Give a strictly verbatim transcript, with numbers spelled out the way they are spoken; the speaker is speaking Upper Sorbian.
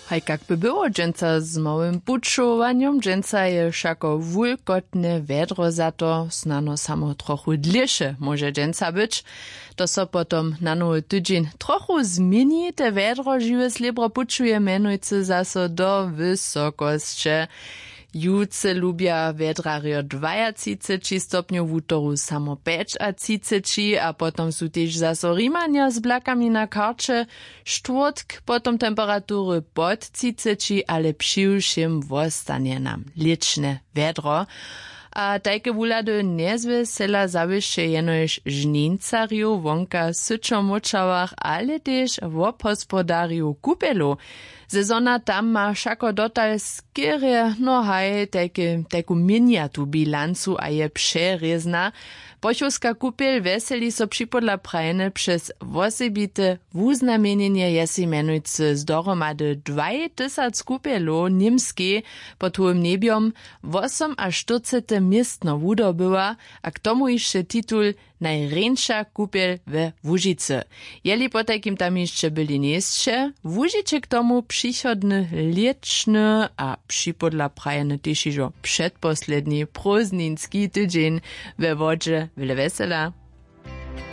Haj kak by było dźensa z małym pućowanjom? Dźensa je wšako wulkotne wjedro za to, snano samo trochu dlěše móže dźensa być. To so potom na nowy tydźeń trochu změni. Te wjedro žiwe slěbro pućuje mjenujcy zaso do wysokosće. Jutře lubja wjedrarjo dwajatřiceći stopnjow, wutoru samo pjećatřiceći a potom su tež zaso Rimanja z blakami na karće. Štwórtk potom temperatury pod třiceći, ale přiwšěm wostanje nam lěčne wjedro. A tajke wuhlady njezwjesela zawěsće jenož žnincarjow wonka w syćomóčałach, ale tež wobhospodarjow kupjelow. Sezona tam ma wšako dotal skerje, no haj, tajke tajku měnjatu bilancu a je přerězna. Pochowska kupjel wjeseli so připodla prajene přez wosebite wuznamjenjenje, je sej mjenujcy z dohromady dwaj tysac kupjelow w němskej pod hołym njebjom wosomaštyrcete městno wudobyła, a k tomu hišće titul najrjeńša kupjel we łužicy. Jeli potajkim tam hišće byli njejsće, wužiće k tomu přichodny lěćny a připodla prajeny tež hižo předposledni prózdninski tydźeń we wodźe. Wjele wjesela.